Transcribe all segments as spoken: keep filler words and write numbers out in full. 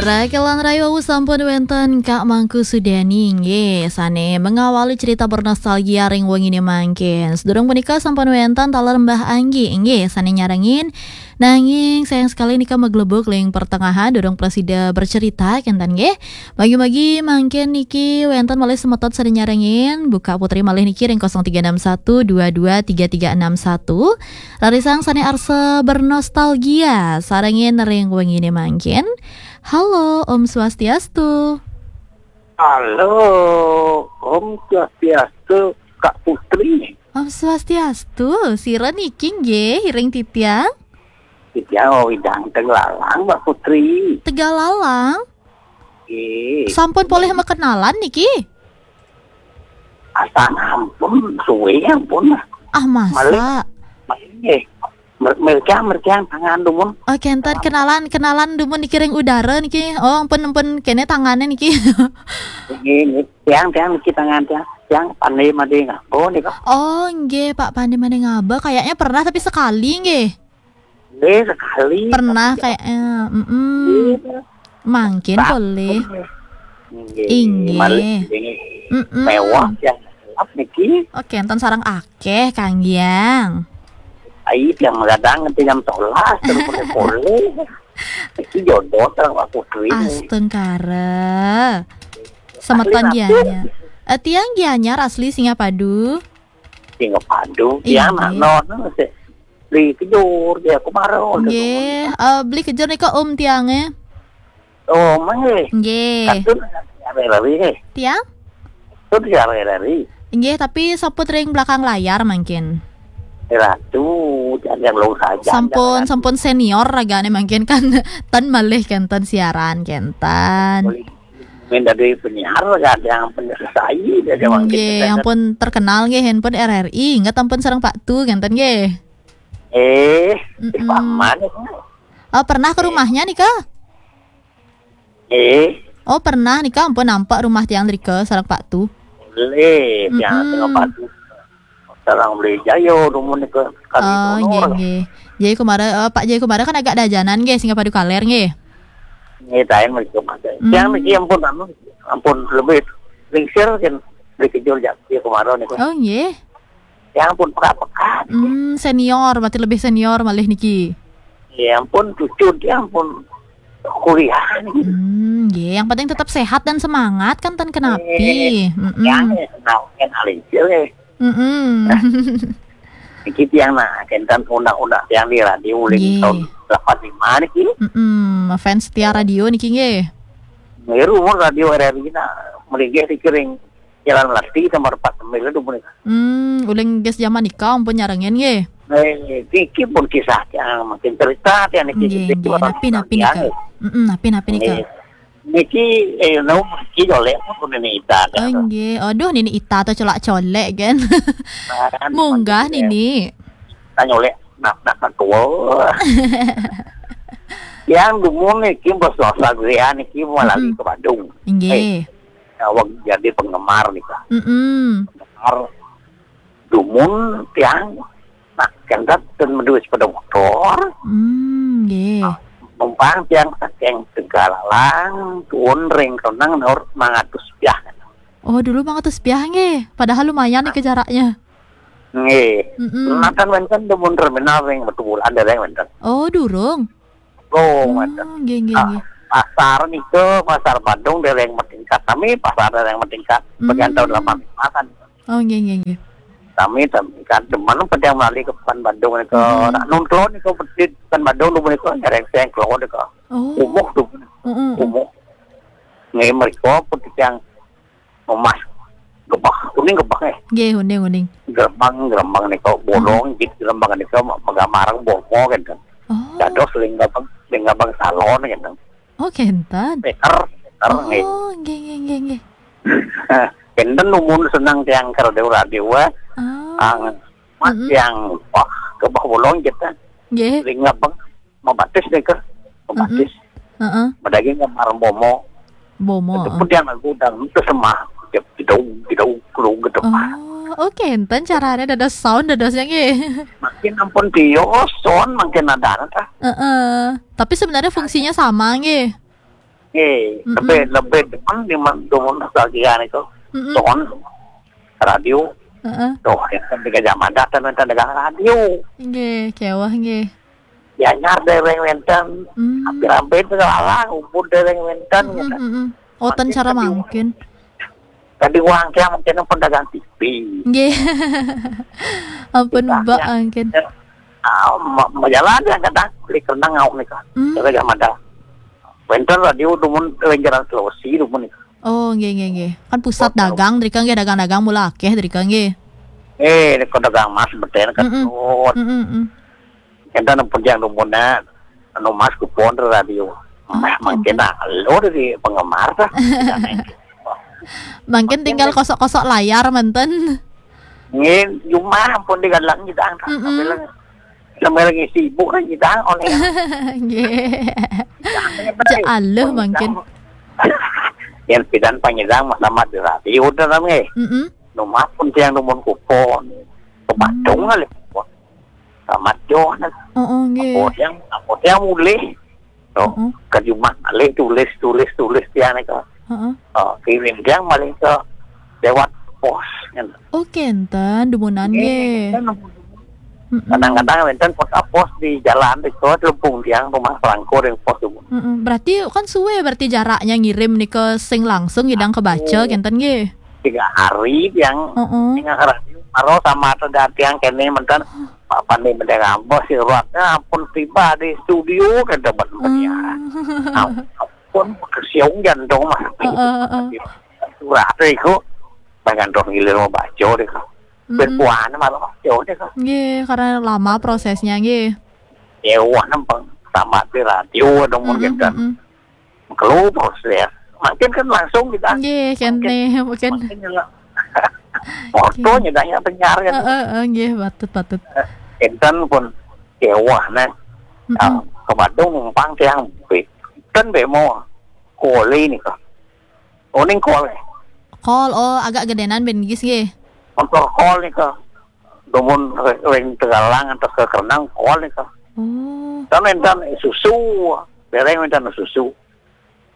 Rakelan Rayu sampun wenten Kak Mangku Sudani nggih, sane mengawali cerita bernostalgia ring wengine mangkin. Sedurung punika sampun wenten taler Mbah Anggi nggih, sane nyarengin. Nanging sayang sekali nika meglebuk ring pertengahan, durung prasida bercerita kenten nggih. Bagi-bagi mangkin niki wenten malih semeton sane nyarengin, buka putri malih niki ring kosong tiga enam satu dua dua tiga tiga enam satu. Rarisang sane arsa bernostalgia sarengin ring wengine mangkin. Halo, Om Swastiastu. Halo, Om Swastiastu, Kak Putri. Om Swastiastu, sira niki nggih, iring titiang? Titiang Widang Tegalalang, Mbak Putri. Tegalalang? Nggih. Sampun polih makenalan niki? Asa ampun, suwe ampun. Ah, masa? Malih, malih nggih. Mer-, merkiang, merkiang tangan dumun. Oh, kenten kenalan, kenalan dumun niki ring udara niki. Oh, ampun, ampun, kene tangane niki. Nggih, nggih. Tiang, tiang niki tangan tiang. Tiang Pande Made Ngaba nika. Oh, nggih, Pak Pande Made Ngaba. Kayaknya pernah tapi sekali nggih. Nggih, sekali. Pernah tapi kayaknya. Mm-mm. Iya. Mangkin boleh. Nggih, inggih. Malih, nggih. Mm-mm. Mewah yang gelap niki. Oke, enten sarang akeh, Kang Giang. Ai, yang gadang nanti jam sebelas, terus boleh-boleh. Iki jodoh sareng Pak Putri. Astungkara. Semeton Gianyar. Eh, tiang Gianyar asli Singapadu. Singapadu. Iya. Tiang nak non, beli kejur, dia aku marah. Nggih, eh, beli kejur nika om tiange. Oh, mangke. Nggih. Katun hari-hari nggih. Tiang? Katun hari-hari. Nggih, tapi saput ring belakang layar mangkin. Ratu, jangan yang lo saja. Sampun, jangan. Sampun senior ragane mangkin kan ten malih kenten siaran kenten. Main dari penyiar, ada yang penyelesai, ada yang mangkin. Nggih, kenten. Yang pun terkenal nggih, handphone R R I, inget ampun sareng Pak Tu kenten nggih. Eh, mm-mm. Paman. Oh, pernah ke rumahnya nika? Eh. Oh, pernah nika ampun nampak rumah tiang drika sareng Pak Tu. Boleh, tiang mm-mm. Sareng Pak Tu. Sareng beli Jayo, dumun nika kali. Oh, nggih, nggih. Jaya Kumara, eh, Pak Jaya Kumara kan agak dajanan nggih, Singapadu kaler nggih. Nggih, tain mriki Mas. Hmm. Tiang niki ampun anu, ampun lebih lingsir kan beli kejur Jaya Kumara nika. Oh, nggih. Ya ampun, pekat-pekat. Hmm, senior, berarti lebih senior malih niki. Ya ampun, cucu dia ampun kuliah niki. Hmm, nggih, yang penting tetap sehat dan semangat kan ten kenapi. Eh, mm-mm. Ya, senang kan alincil ya. Mm-mm. Niki tiang nah, kenten undang-undang tiang di radio uling nggih. Tahun delapan lima niki. Mm-mm, fans setia radio niki nggih. Ngiru mun radio R R I nah, melinggih niki ring Jalan Melati, nomor empat sembilan tu punika. Hmm, uling gas zaman nika ampun nyarengin nggih. Eh, niki pun kisah yang mungkin cerita yang niki nggih, nggih. Napi-napi nika. Mm-mm, napi-napi nika. Nggih. Niki, eh, no, niki jolek pun Nini Ita. Oh, nggih. Aduh, Nini Ita tuh colak-colek kan. Nah, kan, munggah maksudnya. Nini. Tanya oleh nak, nak, nak tua. Yang dumun niki bos dosa gria niki mau lari mm-mm. Ke Bandung. Nggih. Eh, awak jadi penggemar nih, Kak. Mm-mm. Penggemar dumun tiang nak kendat dan menduit sepeda motor. Hmm, nggih. Nah, numpang tiang saking Tegalalang, tuun ring Kenang nur mangatus piah. Oh, dulu mangatus piah nggih. Padahal lumayan nih ke jaraknya. Nggih. Mm-mm. Nah, kan wenten dumun terminal ring Batubulan dereng wenten. Oh, durung. Oh, oh, mantap. Nggih, nggih, ah, nggih. Pasar niku, pasar Bandung dereng matingkat. Kami pasar dereng matingkat. Hmm. Bagian tahun delapan lima kan. Oh, nggih, nggih, nggih. Kami, kami kan cuman pada yang melalui ke Pekan Bandung niku. Hmm. Nak nonton niku di Pekan Bandung niku nyereng seng keluar niku. Oh. Umuh tuh. Mm-mm. Umuh. Nggih, mereka pun yang emas gebah, kuning gebah eh. Nggih, uning, uning. Gerembang, gerembang niku bolong, hmm. Jit gerembang niku magambarang bomo kan. Oh. Dados ring gabang, ring gabang salon kan. Oh, kenten. Peter, Peter nggih. Oh, nggih, nggih, nggih, nggih. Kenten dumun seneng tiang karo dewa dewa. Ah. Ang mas mm-mm. Tiang wah gebah bolong kita. Nggih. Ring gabang mabatis nika, mabatis. Mm-mm. Heeh. Madaging gambar bomo. Bomo, itu heeh. Pun dia lagu dangdut semah. Dia gedung, gedung, gedung, gedung. Oh, oke, enten caranya dados sound dadosnya nggih. Makin ampun bios, sound makin ada ta. Heeh. Tapi sebenarnya fungsinya sama nggih. Eh, Mm-mm. lebih, lebih demen di man-, demen nostalgia niku. Mm-mm. Sound radio. Heeh. Tuh, yang kan di Gajah Mada kan wénten dagang radio. Nggih, kéweh nggih. Gianyar déréng wénten. Hmm. Hampir-hampir segala Ubud déréng wénten Mm-mm, gitu. mm-mm. Oh, ten Makin cara tadi mangkin. Tadi uang tiang mungkin pun dagang T V. Nggih. Ampun, Kita Mbak, ya. mangkin. Ah, ma-, majalah dia kadang beli kena ngau nih kan. Hmm. Gajah Mada. Wénten radio dumun, wénten Jalan Sulawesi dumun nih. Oh, nggih, nggih, nggih. Kan pusat Kota. Dagang drika nggih, dagang-dagang mula akéh drika nggih. Eh, ini kok dagang emas beten kan. Mm-mm. Oh, Mm-mm, mm. enten pun yang dumunna anu emas kupon radio. Mah, Oh, mungkin enten. Nah, lo dari penggemar dah. Mangkin tinggal kosok-kosok layar manten. Ngin, cuma pun di galang kita. Mm-mm. Sambil, sambil ngisi ibu kan kita oleh. Nggih. Ja aleuh mangkin. Yang pidan pangidang mah sama di radio udah nggih. Mm-mm. Rumah pun tiang dumun kupon. Ke Bandung Hmm. kali kupon. Sama John. Oh, oh, nggih. Apa yang, apa yang mulih. Tuh, Mm-mm. ke rumah malih tulis, tulis, tulis tiang itu. Heeh. Oh, kirim tiang malih ke lewat pos kan. Oh, kenten dumunan nggih. Kan Mm-mm. Kadang-kadang wénten pos, pos di jalan di kos lempung tiang rumah pelangkur yang pos itu. Mm-mm. Berarti kan suwe berarti jaraknya ngirim nika sing langsung ngidang kebaca kenten nggih. Tiga hari tiang Heeh. tinggal radio baru sama ada tiang kene menten Pak Pandi menten ngambah suratnya pun tiba di studio kan dapat penyiaran. Hmm. Nah, pun kesiung jantung mah. Heeh, heeh. Surat itu bagian roh gilir mau baca deh kok. Mm-mm. Berkuahnya malah baca deh kok. Nggih, karena lama prosesnya nggih. Ya wah nempeng sama di radio dong Mm-mm, mungkin kan. Mm-mm. Keluar proses. Makin kan langsung kita. Nggih, kene mungkin. Makin nyela. Waktunya banyak penyiar kan. Heeh, heeh, nggih, patut, patut. Enten pun kewah nah. Mm-mm. Ah, ke Bandung numpang tiang. Kan bemo koli nih kok. Oning kol. Kol, oh, agak gedenan ben gis nggih. Motor kol nih kok. Dumun ring Tegalang atau ke Kerenang kol nih kok. Oh. Kan enten susu. Bereng enten susu.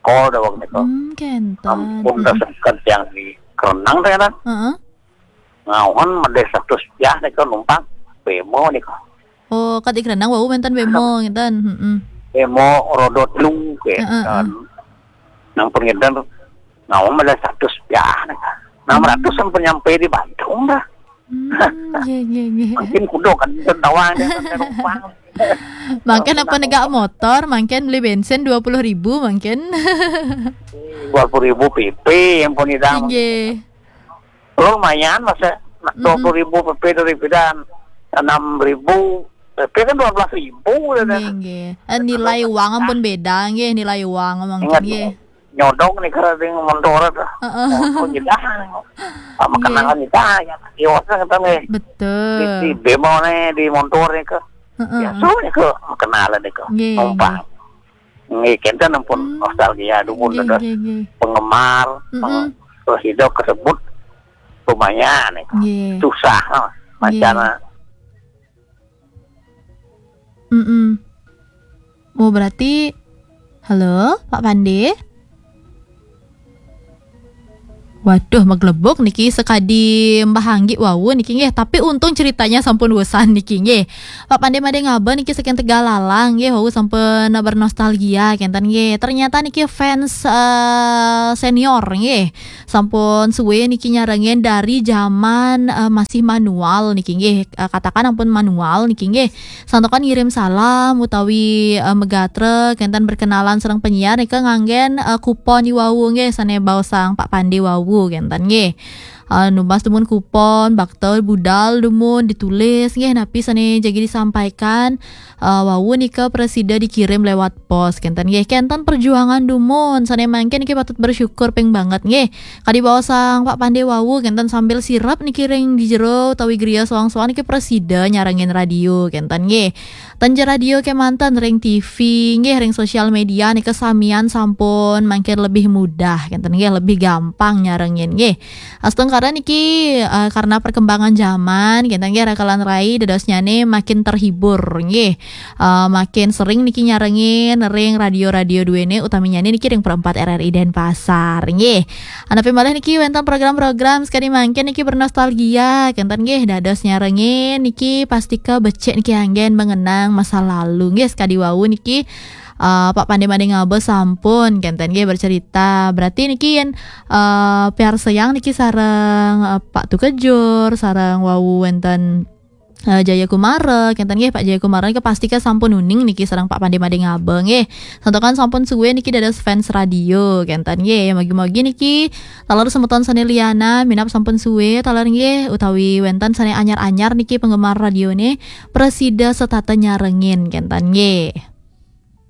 Kol dawang nih kok. Hmm, kenten. Ampun dasar yang di Kerenang teh kan. Heeh. Ngauhan medeh satu ya nih kok numpang. Bemo nih kok. Oh, kad di Kerenang wau menten bemo ngenten. Heeh. Bemo rodot lu kayak Heeh, kan. Nang pengedar ngauhan medeh satu ya nih kok. Enam ratus sampai nyampe di Bandung dah. Hmm, nggih, nggih, nggih. Mungkin kudo kan tawang dia kan numpang. Mangkin apa negak motor, mangkin beli bensin dua puluh ribu mangkin. Dua puluh ribu P P yang pun idang. Nggih. Lumayan masa dua puluh ribu P P dari pidan enam ribu P P kan dua belas ribu ya dah. Nggih, nggih. Eh, nilai uang ampun beda nggih, nilai uang mangkin Ingat nggih. Nyodong nih kira ding motor dah. Heeh. Oh, nyedah. Sama Nggih. Kenangan nyedah ya. Iwasnya kata nih. Di, di Betul. Bemo nih di motor nih ke. Heeh. Ya, so nih ke kenalan nih ke. Nggih, Numpang. Nggih, kenten ampun Hmm. nostalgia dumun Nggih, dah. nggih, nggih. Penggemar, Mm-mm. peng-, terus hidup kesebut lumayan nih. Nggih. Susah, oh, Nggih. macam Mm-mm. Oh, berarti halo, Pak Pande? Waduh, maglebuk niki sekadi Mbah Anggi wau niki nggih, tapi untung ceritanya sampun wesan niki nggih. Pak Pande made ngaba niki saking Tegalalang nggih, wau sampun bernostalgia kenten nggih. Ternyata niki fans eh, senior nggih. Sampun suwe niki nyarengin dari zaman eh, masih manual niki nggih. Eh, katakan ampun manual niki nggih. Santokan ngirim salam utawi eh, megatre kenten berkenalan sareng penyiar nika nganggen eh, kupon iwau nggih sane baosang Pak Pande wau kenten nggih. Eh, numbas dumun kupon, bakta budal dumun ditulis nggih napi sane jagi disampaikan eh, wau nika presida dikirim lewat pos kenten nggih. Kenten perjuangan dumun sane mangkin niki patut bersyukur ping banget nggih. Kadi baosang Pak Pande wau kenten sambil sirep niki ring di jero utawi griya soang-soang niki presida nyarengin radio kenten nggih. Ten ja radio kemanten ring T V nggih ring sosial media nika samian sampun mangkin lebih mudah kenten nggih, lebih gampang nyarengin nggih. Astungkara Karena niki eh, karena perkembangan zaman, kenten nggih, rakelan rai dadosnyane makin terhibur nggih. Eh, makin sering niki nyarengin ring radio-radio duene, utaminyane niki ring Perempat R R I Denpasar nggih. Anapi malih niki wenten program-program sekadi mangkin niki bernostalgia, kenten nggih, dados nyarengin niki pastika becik niki anggen mengenang masa lalu nggih. Sekadi wau niki eh, Pak Pande Made Ngaba sampun kenten nggih bercerita. Berarti niki yen eh, piarsayang niki sareng eh, Pak Tukejur, sareng wau wenten eh, Jaya Kumara, kenten nggih, Pak Jaya Kumara niki pastika sampun uning niki sareng Pak Pande Made Ngaba nggih. Santukan sampun suwe niki dados fans radio, kenten nggih. Mugi-mugi niki taler semeton sane lianan minab sampun suwe taler nggih, utawi wenten sane anyar-anyar niki penggemar radione, prasida setata nyarengin, kenten nggih.